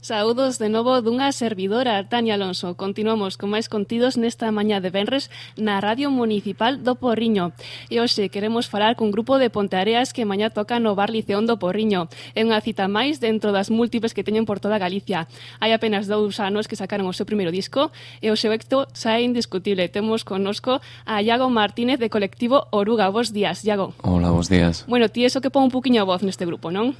Saúdos de novo dunha servidora, Tania Alonso. Continuamos con máis contidos nesta mañá de venres na Radio Municipal do Porriño. E hoxe queremos falar cun grupo de Ponteareas que mañá toca no Bar Liceón do Porriño. É unha cita máis dentro das múltiples que teñen por toda Galicia. Hai apenas 2 anos que sacaron o seu primeiro disco e o seu éxito xa é indiscutible. Temos connosco a Iago Martínez de colectivo Oruga. Bos días, Iago. Hola, bos días. Bueno, ti eso que pon un poquinho a voz neste grupo, non?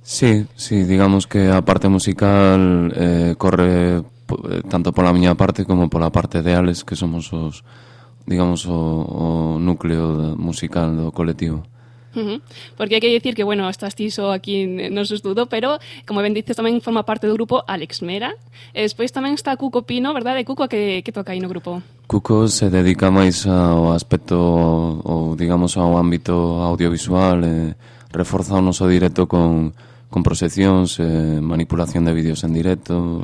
Sí, digamos que a parte musical corre tanto pola miña parte como pola parte de Alex, que somos os, digamos, o núcleo musical do colectivo. Porque hai que dicir que, bueno, estás ti só aquí no estudo, pero, como ben dices, tamén forma parte do grupo Alex Mera. E despois tamén está Cuco Pino, verdade? Cuco, que toca aí no grupo? Cuco se dedica máis ao aspecto, ou digamos, ao ámbito audiovisual, reforza o noso directo con proxeccións, manipulación de vídeos en directo,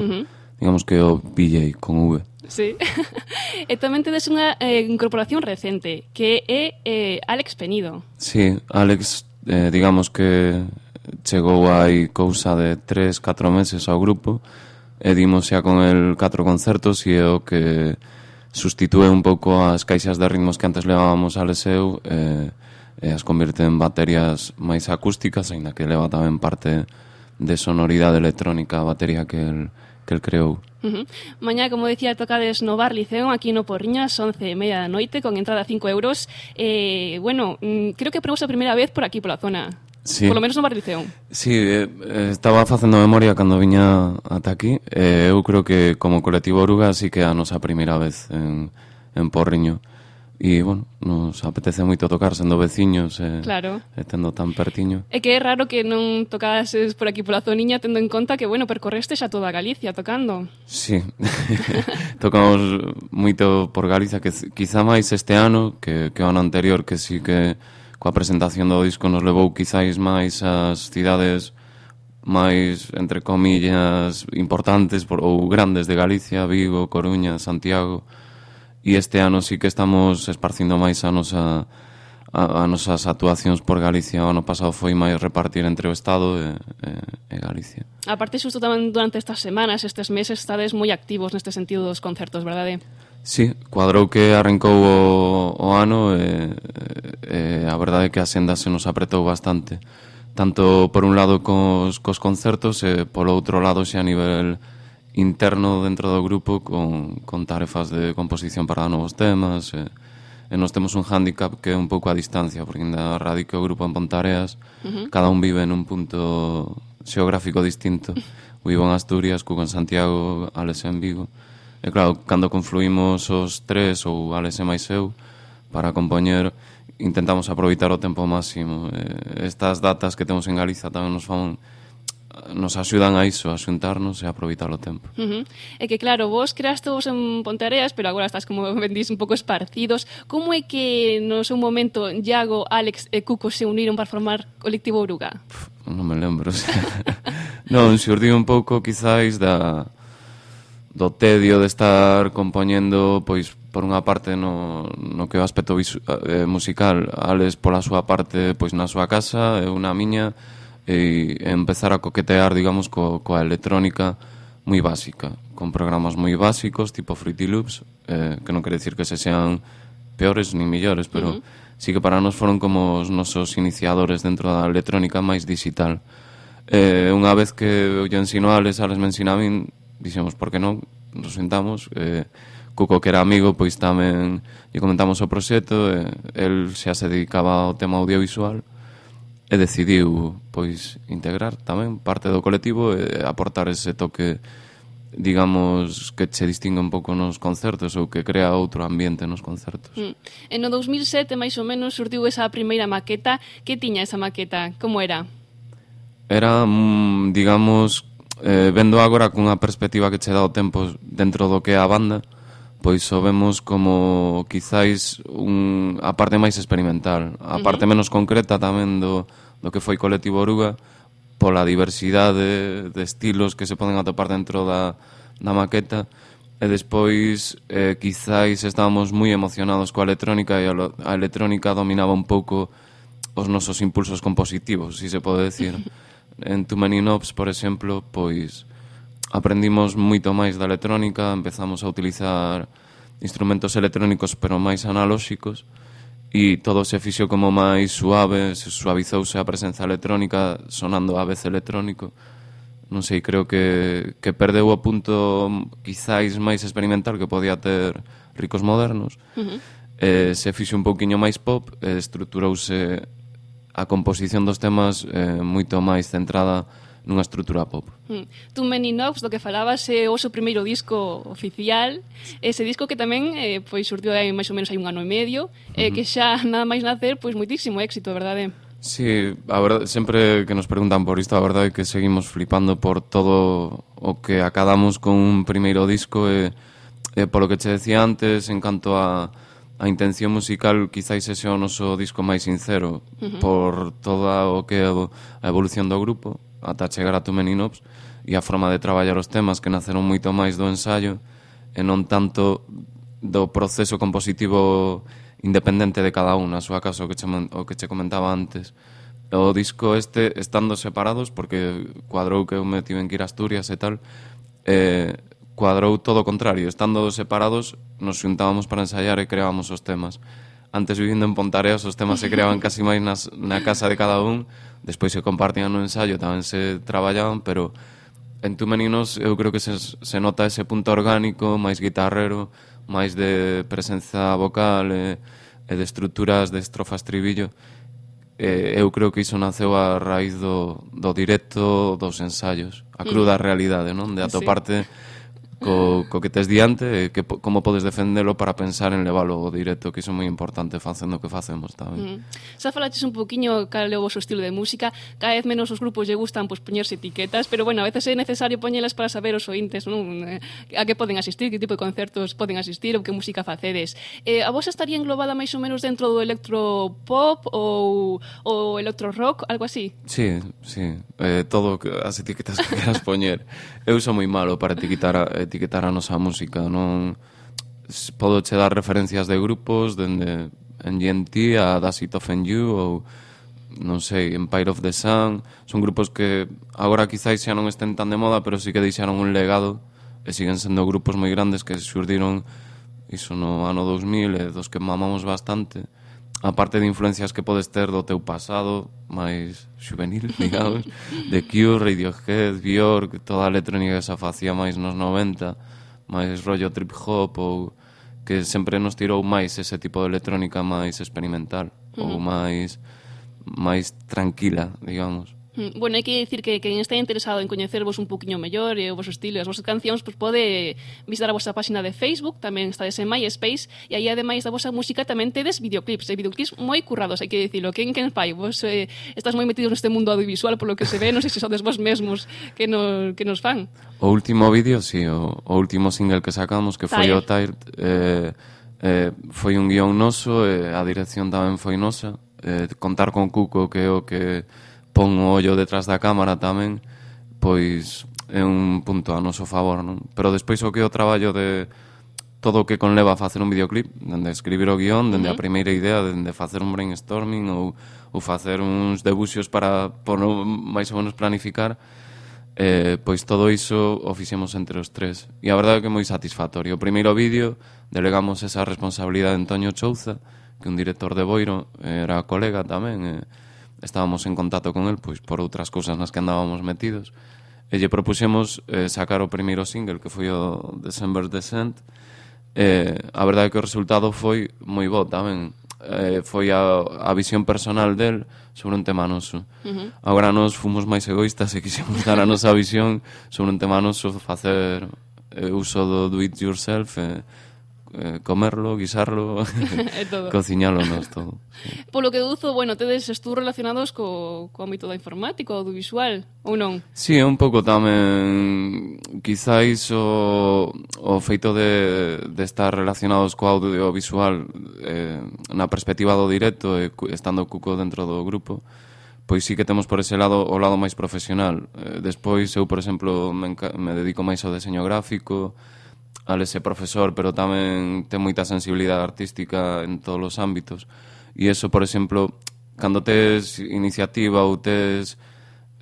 digamos que o DJ con V. Sí. E tamén tedes unha incorporación recente, que é Alex Penido. Sí, Alex, digamos que chegou hai cousa de 3-4 meses ao grupo, e dimos xa con el 4 concertos, e é o que sustitúe un pouco as caixas de ritmos que antes levábamos a Leseu, e as convierte en baterías máis acústicas, aínda que leva tamén parte de sonoridade electrónica a batería que el creou. Mañá, como decía, tocades no Bar Liceón aquí no Porriño ás 11:30 da noite con entrada a 5 euros. Bueno, creo que probamos a primeira vez por aquí, pola zona. Sí. Por lo menos no Bar Liceón. Sí, estaba facendo memoria cando viña ata aquí. Eu creo que como colectivo Oruga sí que é a nosa primeira vez en Porriño. E, bueno, nos apetece moito tocar sendo veciños claro. E tendo tan pertiño. É que é raro que non tocases por aquí pola zoniña, tendo en conta que, bueno, percorreste xa toda Galicia tocando. Sí, tocamos moito por Galicia, que quizá máis este ano que o ano anterior, que sí que coa presentación do disco nos levou quizáis máis ás cidades máis, entre comillas, importantes ou grandes de Galicia, Vigo, Coruña, Santiago. E este ano sí que estamos esparcindo máis a nosas actuacións por Galicia. O ano pasado foi máis repartir entre o Estado e Galicia. A parte, xusto tamén durante estas semanas, estes meses, estades moi activos neste sentido dos concertos, verdade? Sí, cuadrou que arrancou o ano e a verdade é que a senda se nos apretou bastante. Tanto por un lado cos concertos e polo outro lado xa a nivel interno dentro do grupo con tarefas de composición para novos temas e nos temos un hándicap que é un pouco a distancia, porque ainda radica o grupo en Ponteareas, cada un vive nun punto xeográfico distinto. Vivo en Asturias, Cuco en Santiago, Alex en Vigo, e claro, cando confluímos os tres ou Alex e máis eu para compoñer, intentamos aproveitar o tempo máximo. Estas datas que temos en Galiza tamén nos axudan a iso, a xuntarnos e a aproveitar o tempo. É que claro, vos creastes en Ponteareas, pero agora estás, como ben dís, un pouco esparcidos. Como é que no seu momento Iago, Alex e Cuco se uniron para formar colectivo Oruga? Non me lembro. Non, xurdiu un pouco quizáis do tedio de estar compoñendo, pois por unha parte no que é o aspecto musical, Alex pola súa parte pois na súa casa, eu na miña, e empezar a coquetear, digamos, coa electrónica moi básica, con programas moi básicos, tipo Fruity Loops, que non quere decir que se sean peores ni millores, pero sí que para nós foron como os nosos iniciadores dentro da electrónica máis digital. Unha vez que eu lle ensino a Alex me ensina a min, dixemos, por que non, nos sentamos, Cuco, que era amigo, pois tamén lle comentamos o proxecto, el xa se dedicaba ao tema audiovisual, e decidiu, pois, integrar tamén parte do colectivo e aportar ese toque, digamos, que se distingue un pouco nos concertos ou que crea outro ambiente nos concertos. E no 2007, máis ou menos, surdiu esa primeira maqueta. Que tiña esa maqueta? Como era? Era, digamos, vendo agora cunha perspectiva que che dá o tempo dentro do que é a banda, pois o vemos como quizáis a parte máis experimental, a parte menos concreta tamén do que foi Colectivo Oruga, pola diversidade de estilos que se poden atopar dentro da maqueta, e despois quizáis estábamos moi emocionados coa electrónica e a electrónica dominaba un pouco os nosos impulsos compositivos, si se pode decir. En Too Many Knobs, por exemplo, pois aprendimos moito máis da electrónica, empezamos a utilizar instrumentos electrónicos pero máis analóxicos, e todo se fixo como máis suave, se suavizouse a presenza electrónica sonando a vez electrónico. Non sei, creo que perdeu o punto quizáis máis experimental que podía ter Ricos Modernos. Se fixe un pouquiño máis pop, estruturouse a composición dos temas moito máis centrada nunha estrutura pop. Too Many Knobs, do que falabas, é o seu primeiro disco oficial, ese disco que tamén pois surdiu máis ou menos hai 1 ano e medio, que xa nada máis nacer, pois moitísimo éxito, verdade? Sí, a verdade, sempre que nos preguntan por isto, a verdade é que seguimos flipando por todo o que acadamos con un primeiro disco, e polo que che decía antes, en canto a intención musical, quizáis ese o noso disco máis sincero, por toda o que é a evolución do grupo, ata chegar a Too Many Knobs, e a forma de traballar os temas que naceron moito máis do ensayo e non tanto do proceso compositivo independente de cada un, a súa caso o que che comentaba antes. O disco estando separados, porque cuadrou que eu me tiven que ir a Asturias e tal, cuadrou todo o contrario, estando separados nos xuntábamos para ensaiar e creábamos os temas. Antes, vivindo en Pontareas, os temas se creaban casi máis na casa de cada un, despois se compartían no ensayo, tamén se traballaban, pero en Too Many Knobs eu creo que se nota ese punto orgánico, máis guitarrero, máis de presenza vocal e de estruturas de estrofa estribillo. Eu creo que iso naceu a raíz do directo, dos ensaios, a cruda realidade, non? De atoparte co que tes diante, que como podes defendelo para pensar en leválo ao directo, que iso é moi importante facendo o que facemos tamén. Xa falaches un poquinho cal é o vosso estilo de música, cada vez menos os grupos lle gustan poñerse etiquetas, pero bueno, a veces é necesario poñelas para saber os ointes, non? A que poden asistir, que tipo de concertos poden asistir ou que música facedes. A vos estaría englobada máis ou menos dentro do electropop ou electro rock, algo así? Sí, todo as etiquetas que queras poñer. Eu sou moi malo para etiquetar a nosa música, non podo che dar referencias de grupos dende NGNT a Does It Offend You ou non sei, Empire of the Sun. Son grupos que agora quizáis xa non estén tan de moda, pero sí que deixaron un legado e siguen sendo grupos moi grandes que xurdiron iso no ano 2000 e dos que mamamos bastante, aparte de influencias que podes ter do teu pasado máis juvenil, digamos, de Cure, Radiohead, Björk, toda a electrónica que se facía máis nos 90, máis rollo trip hop, ou que sempre nos tirou máis ese tipo de electrónica máis experimental, ou máis tranquila, digamos. Bueno, hai que dicir que quen está interesado en coñecervos un poquinho mellor e o vosso estilo e as vosas cancións, pois pode visitar a vosa página de Facebook, tamén estades en MySpace, e aí ademais da vosa música tamén tedes videoclips, e videoclips moi currados, hai que dicilo. Quen fai? Vos estás moi metidos neste mundo audiovisual, polo que se ve, non sei se sodes vos mesmos que nos fan. O último vídeo, sí, o último single que sacamos, que foi o Tired, foi un guión noso, a dirección tamén foi nosa, contar con Cuco, que é o que pon o ollo detrás da cámara tamén, pois é un punto a noso favor, non? Pero despois o que é o traballo de todo o que conleva a facer un videoclip, dende escribir o guión, dende a primeira idea, dende facer un brainstorming ou facer uns debuxos para máis ou menos planificar, pois todo iso o fixemos entre os tres. E a verdade é que é moi satisfactorio. O primeiro vídeo delegamos esa responsabilidade en Toño Chouza, que un director de Boiro era colega tamén, estábamos en contacto con el pois por outras cousas nas que andábamos metidos, e lle propuxemos sacar o primeiro single, que foi o December Descent. A verdade é que o resultado foi moi bo tamén, foi a visión personal del sobre un tema noso. Agora nos fomos máis egoístas e quixemos dar a nosa visión sobre un tema noso, facer uso do it yourself, comerlo, guisarlo, cociñalo nos todo. Polo que deduzo, bueno, tedes estudos relacionados co ámbito da informática, audiovisual, ou non? Sí, é un pouco tamén quizáis o feito de estar relacionados co audiovisual na perspectiva do directo e estando Cuco dentro do grupo, pois sí que temos por ese lado o lado máis profesional. Despois eu, por exemplo, me dedico máis ao deseño gráfico, Alex é profesor, pero tamén ten moita sensibilidade artística en todos os ámbitos. E eso, por exemplo, cando tes iniciativa ou tes,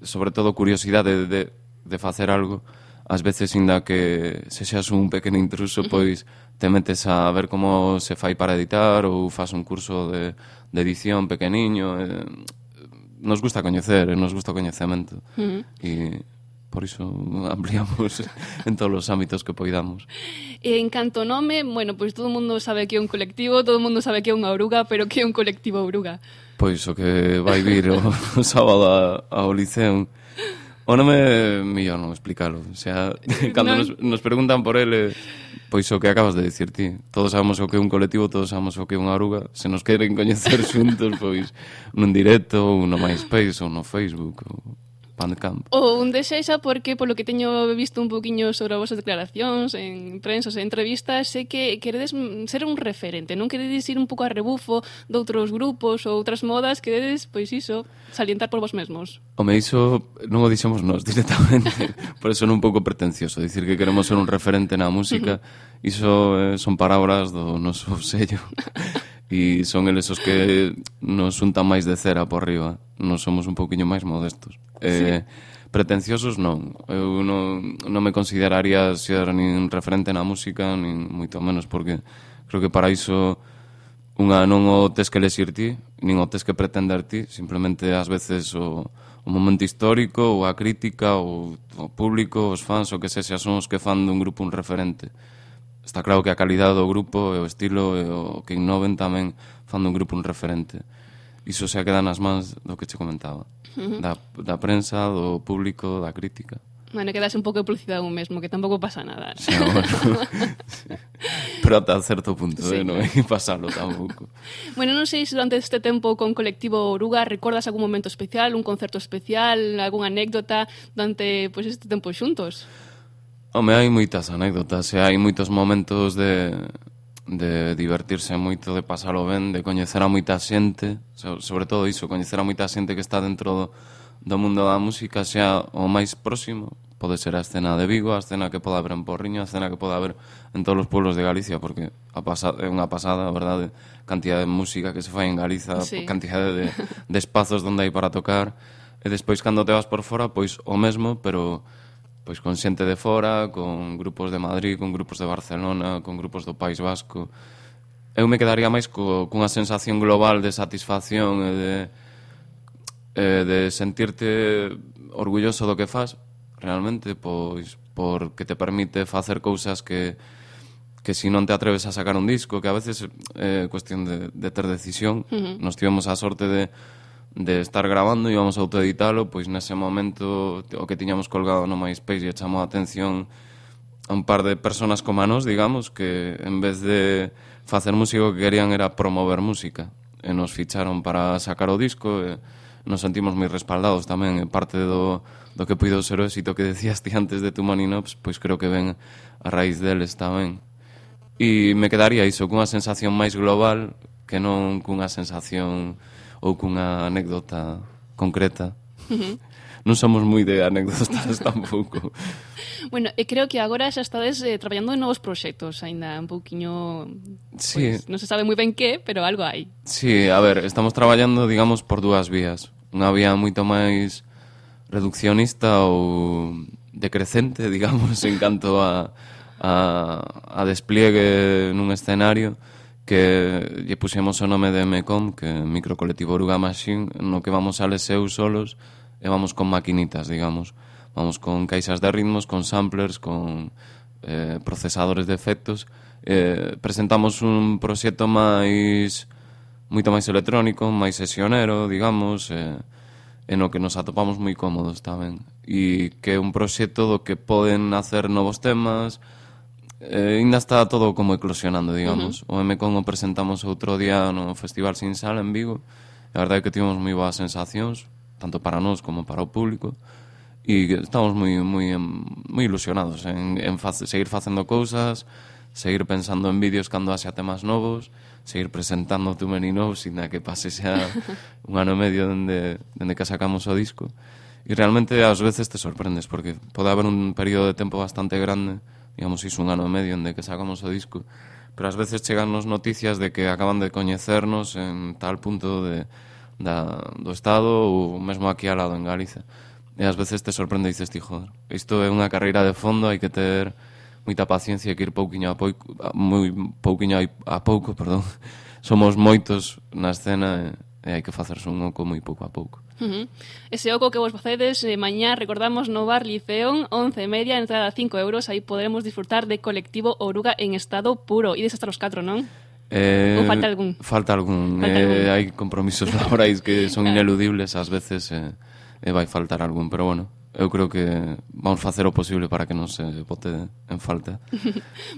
sobre todo, curiosidade de facer algo, ás veces, inda que sexas un pequeno intruso, pois te metes a ver como se fai para editar ou faz un curso de edición pequeniño. Nos gusta coñecer, nos gusta o coñecemento. E por iso ampliamos en todos os ámbitos que poidamos. En canto nome, bueno, pois todo o mundo sabe que é un colectivo, todo o mundo sabe que é unha oruga, pero que é un colectivo oruga? Pois o que vai vir o sábado ao Liceo. O nome é mellor non explicalo. O sea, cando nos preguntan por ele, pois o que acabas de dicir ti. Todos sabemos o que é un colectivo, todos sabemos o que é unha oruga. Se nos queren coñecer xuntos, pois nun directo, ou no MySpace, ou no Facebook, ou Bandcamp. Ou un desexa porque, polo que teño visto un poquinho sobre as vosas declaracións en prensos e entrevistas, sei que queredes ser un referente, non queredes ir un pouco a rebufo de outros grupos ou outras modas, queredes, pois iso, salientar por vos mesmos. Home, iso non o dixemos nós directamente, por eso non un pouco pretencioso, dicir que queremos ser un referente na música, iso son palabras do noso sello. E son eles os que nos xuntan máis de cera por riba. Nos somos un pouquiño máis modestos. Pretenciosos non. Eu non me consideraría ser nin referente na música, nin moito menos, porque creo que para iso non o tes que lexir ti, nin o tes que pretender ti, simplemente ás veces o momento histórico, ou a crítica, ou o público, os fans, o que sexa, son os que fan dun grupo un referente. Está claro que a calidade do grupo e o estilo e o que innoven tamén fan dun grupo un referente. Iso se queda nas mans do que che comentaba. Da prensa, do público, da crítica. Bueno, quedase un pouco de publicidade un mesmo, que tampouco pasa nada. Sí, bueno. Pero ata certo punto, non hai que pasarlo tampouco. Bueno, non sei se durante este tempo con Colectivo Oruga recordas algún momento especial, un concerto especial, algunha anécdota durante este tempo xuntos? Home, hai moitas anécdotas e hai moitos momentos de divertirse moito, de pasalo ben, de coñecer a moita xente, sobre todo iso, coñecer a moita xente que está dentro do mundo da música, xa o máis próximo, pode ser a escena de Vigo, a escena que pode haber en Porriño, a escena que pode haber en todos os pueblos de Galicia, porque é unha pasada, a verdade, cantidad de música que se fai en Galiza, cantidad de espazos onde hai para tocar, e despois cando te vas por fora, pois o mesmo, pero pois con xente de fora, con grupos de Madrid, con grupos de Barcelona, con grupos do País Vasco. Eu me quedaría máis cunha sensación global de satisfacción e de sentirte orgulloso do que fas, realmente, pois porque te permite facer cousas que si non te atreves a sacar un disco, que a veces é cuestión de ter decisión. Nos tivemos a sorte de estar grabando e íbamos a autoeditalo, pois nese momento o que tiñamos colgado no MySpace e chamou a atención a un par de personas como a nós, digamos, que en vez de facer música o que querían era promover música, e nos ficharon para sacar o disco, e nos sentimos moi respaldados tamén, e parte do que puido ser o éxito que decías ti antes de Too Many Knobs, pois creo que ven a raíz deles tamén. E me quedaría iso, cunha sensación máis global que non cunha sensación ou cunha anécdota concreta. Non somos moi de anécdotas tampouco. Bueno, e creo que agora xa estades traballando en novos proxectos, aínda un pouquiño... Sí. Pues, non se sabe moi ben que, pero algo hai. Sí, a ver, estamos traballando, digamos, por dúas vías. Unha vía moito máis reduccionista ou decrecente, digamos, en canto a despliegue nun escenario, que lle puxemos o nome de MECOM, que é Microcolectivo Oruga Machine, no que vamos a leseu solos e vamos con maquinitas, digamos. Vamos con caixas de ritmos, con samplers, con procesadores de efectos. Presentamos un proxecto moito máis electrónico, máis sesionero, digamos, en o que nos atopamos moi cómodos tamén. E que é un proxecto do que poden hacer novos temas. Ainda está todo como eclosionando, digamos. O MCON o presentamos outro día no Festival Sin Sal en Vigo. A verdade é que tivemos moi boas sensacións, tanto para nós como para o público, e estamos moi ilusionados en seguir facendo cousas, seguir pensando en vídeos cando haxa temas novos, seguir presentando Too Many Knobs, inda que pase xa un ano e medio dende que sacamos o disco. E realmente ás veces te sorprendes, porque pode haber un período de tempo bastante grande, digamos, iso un ano e medio dende que sacamos o disco, pero ás veces chegannos noticias de que acaban de coñecernos en tal punto do Estado ou mesmo aquí ao lado en Galicia. E ás veces te sorprende e dices, joder, isto é unha carreira de fondo, hai que ter moita paciencia e que ir pouquiño a pouco, perdón. Somos moitos na escena e hai que facerse un oco moi pouco a pouco. Ese oco que vos facedes mañá, recordamos, no Bar Liceón, 11:30, entrada 5 euros, aí podremos disfrutar de Colectivo Oruga en estado puro. Ides hasta os 4, non? Ou falta algún? Falta algún. Hai compromisos laborais que son ineludibles ás veces e vai faltar algún, pero bueno, eu creo que vamos facer o posible para que non se bote en falta.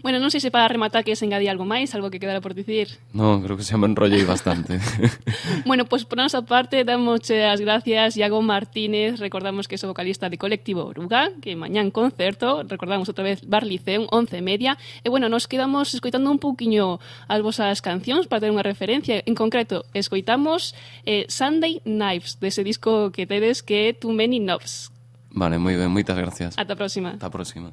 Bueno, non sei se para rematar que se engadí algo máis, algo que quedara por dicir. Non, creo que se me enrollei bastante. Bueno, pues por nosa parte, damos as gracias Iago Martínez, recordamos que é o vocalista de Colectivo Oruga, que mañán concerto, recordamos outra vez Bar Liceón, 11:30, e bueno, nos quedamos escoitando un pouquiño as vosas cancións para ter unha referencia. En concreto, escoitamos Sunday Knives, dese disco que tedes que é Too Many Knobs. Vale, moi ben, moitas gracias. Ata a próxima. Ata a próxima.